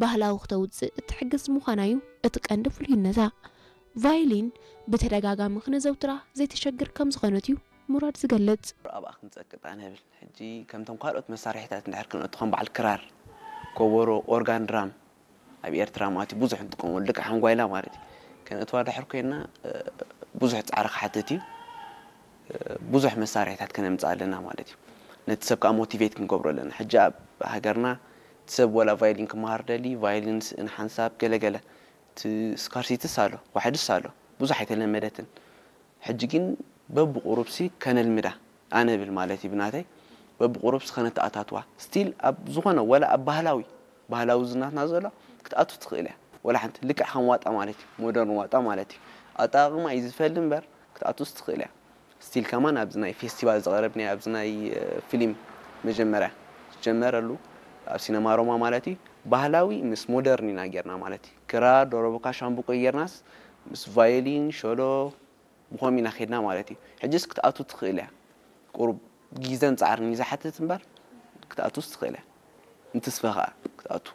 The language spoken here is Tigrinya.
ባህላዊ ክተውጽእ እትሕግዝ ምዃና እዩ እቲ ቀንዲ ፍሉይነታ። ቫዮሊን ብተደጋጋሚ ክነዘውትራ ዘይተሸግር ከም ዝኾነት እዩ ሙራድ ዝገልጽ። ኣብኣ ክንጸቅጥ ኣነ ብል። ሕጂ ከምቶም ካልኦት መሳርሒታት እንድሕር ክንእቱ ከም በዓል ክራር፣ ኮቦሮ፣ ኦርጋን፣ ድራም ኣብ ኤርትራ ማለት እዩ ብዙሕ እንጥቀመሉ ልክዕ ሓንጓይላ ማለት እዩ። ከነእትዋ ድሕር ኮይና ብዙሕ ጻዕሪ ክሓትት እዩ። ብዙሕ መሳርሒታት ከነምጽእ ኣለና ማለት እዩ። ነቲ ሰብ ከዓ ሞቲቬት ክንገብሮ ኣለና። ሕጂ ኣብ ሃገርና እቲ ሰብ ወላ ቫዮሊን ክመሃር ደሊ ቫዮሊን ስእን ሓንሳብ ገለገለ እቲ ስካርሲቲስ ኣሎ፣ ዋሕድስ ኣሎ፣ ብዙሕ ኣይተለመደትን። ሕጂ ግን በብቁሩብሲ ከነልምዳ ኣነ ብል ማለት እዩ ብናተይ በብቁሩብሲ ከነተኣታትዋ ስቲል ኣብ ዝኾነ ወላ ኣብ ባህላዊ ባህላዊ ዝናትና ዘሎ ክትኣቱ ትኽእል እያ። ወላ ሓንቲ ልክዕ ከም ዋጣ ማለት እዩ፣ ሞደርን ዋጣ ማለት እዩ። ኣጠቃቅማ እዩ ዝፈሊ እምበር ክትኣቱስ ትኽእል እያ። ስቲል ከማን ኣብዚ ናይ ፌስቲቫል ዝቐረብናዮ ኣብዚ ናይ ፊልም መጀመርያ ዝጀመረሉ ኣብ ሲነማ ሮማ ማለት እዩ ባህላዊ ምስ ሞደርን ኢና ጌርና ማለት እዩ። ክራር፣ ዶሮቦካ፣ ሻምብቆ ጌርናስ ምስ ቫዮሊን፣ ሸሎ ብኸም ኢና ኸድና ማለት እዩ። ሕጅስ ክትኣቱ ትኽእል እያ። ቁሩብ ግዘን ፃዕርን እዩ ዝሓትት እምበር ክትኣቱስ ትኽእል እያ። እንትስፈ ከዓ ክትኣቱ